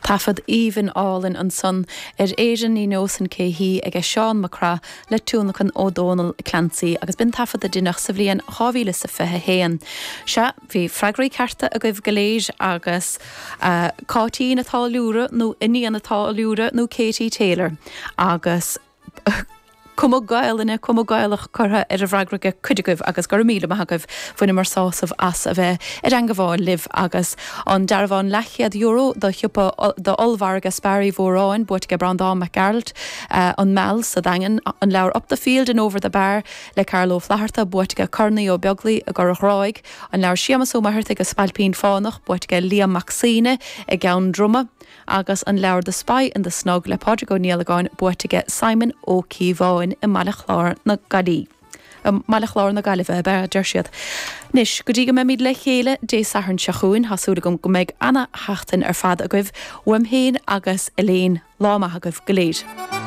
Taifead aoibhinn álainn ansan ar Éirinn Ní Neosainn Cé Hí aige Seán Mac Craith le tionlacan ó Dónal Clancy agus b'in taifead a deineadh sa bhliain 2021. Sea, bhí freagraí cearta agaibh go léir agus Cáitín a' Táilliúra nó Iníon a' Táilliúra nó Katie Taylor agus cuma Gaelainne, cuma Gaelach curtha ar an bhfreagra ag cuid agaibh agus go raibh míle maith agaibh. Bhaineamar sásamh as a bheith i dteangabháil libh agus an dearbhán leathchéad euro do shiopa d'ollmhargadh Spar Uí Mhóráin buaite ag Breandán Mac Gearailt, An Meal sa Daingean, an leabhar Up the Field and Over the Bar le Carl Ó Flatharta buaite ag Cormac Ó Beaglaoi i gCorr Ghráig, an leabhar Séamus Ó Muircheartaigh An Spailpín Fánach buaite ag Liam Mac Suibhne i gCeann Droma. Agus an leabhar The Spy in the Snug le Pádraig Ó Niallagáin buaite aige Simon Ó Cíobháin i mBaile Chláir na Gaillí. I mBaile Chláir na Gaillimhe, ab ea, a deir siad. Anois, go dtí go mbeimid le chéile Dé Sathairn seo chugainn, tá súil agam go mbeidh ana-sheachtain ar fad agaibh, uaim féin agus Elaine, lá maith agaibh go léir.